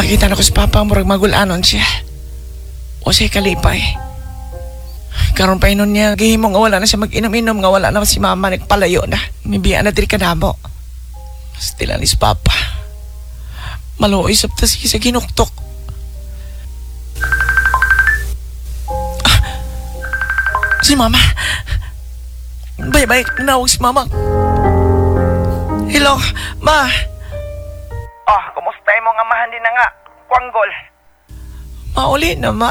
Nakita na ko si Papa, murag magulanon siya. O siya kalipay. Karon pa inon niya, gihimo nga wala na siya mag-inom-inom, nga wala na si Mama, nagpalayo na. Mibiya na diri ka namo. Stila ni si Papa. Maluoy sa tas sa ginuktok. Ah, si Mama. Bye-bye, nawag si Mama. Hello, Ma. Oh, kumusta imong amahan din na nga? Kwanggol. Mauli na, Ma.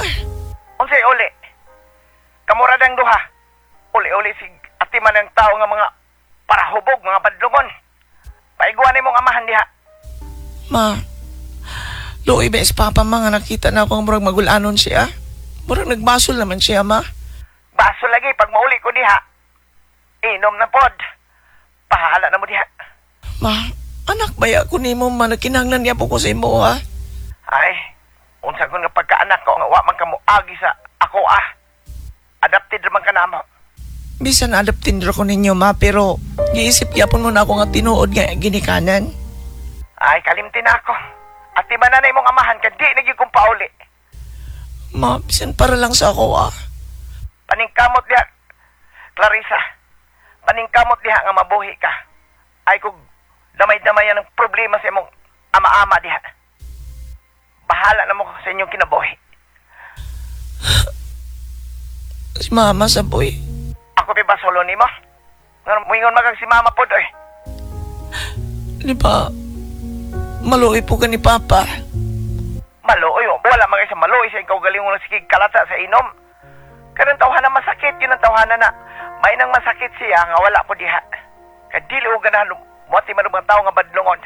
Unsay uli? Kamura dang duha. Uli-uli si atiman ng tao nga mga parahubog, mga badlungon. Paiguan imong amahan diha. Ma, luoy ba si Papa, ma, nga nakita na ako ang murag magulanon siya? Murag nagbasol naman siya, Ma. Baso lagi pag mauli ko diha. Inom na pod. Pahala na mo diha. Ma, anak ba ako nimo, ma? Nagkinahanglan niya po ko sa imo, ha? Ay, unsa ko nga pagkaanak ko nga wa man ka moagi sa ako ah. Adapted man ka namo. Bisan adaptin ra ko ninyo, Ma, pero giisip gyapon mo na ako nga tinuod nga ginikanan. Ay, kalimti na ako. Atiman na na imong amahan ka di na gyud kong pauli. Ma, bisan para lang sa ako, ah. Paningkamot diha, Clarissa. Paningkamot diha nga mabuhi ka. Ay kung damay-damay ang problema sa imong ama-ama diha. Bahala na mo sa inyong kinabuhi. Si Mama sa boy. Ako pa ba solo nimo? Nga muingon magag si mama pod oy. Di ba, maluoy po ka ni Papa. Maluoy oh. Wala mga isa maluoy sa ikaw galing mo sige kalata sa inom. Kanang tawhana masakit yun ang tawhana na. May nang masakit siya nga wala ko diha. Kay dili og ganahan moati man og mga tao nga badlongon.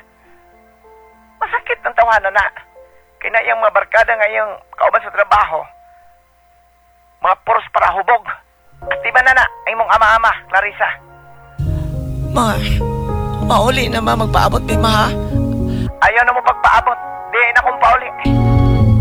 Masakit ang tawhana na. Kay na iyang mga barkada nga iyang kauban sa trabaho. Mga puros para hubog. Atiba na na ang imong ama-ama, Clarissa. Ma, mauli na, Ma, magpaabot mi, Ma, ha? Ayaw na mo pagpaabot. Di na kong pauli.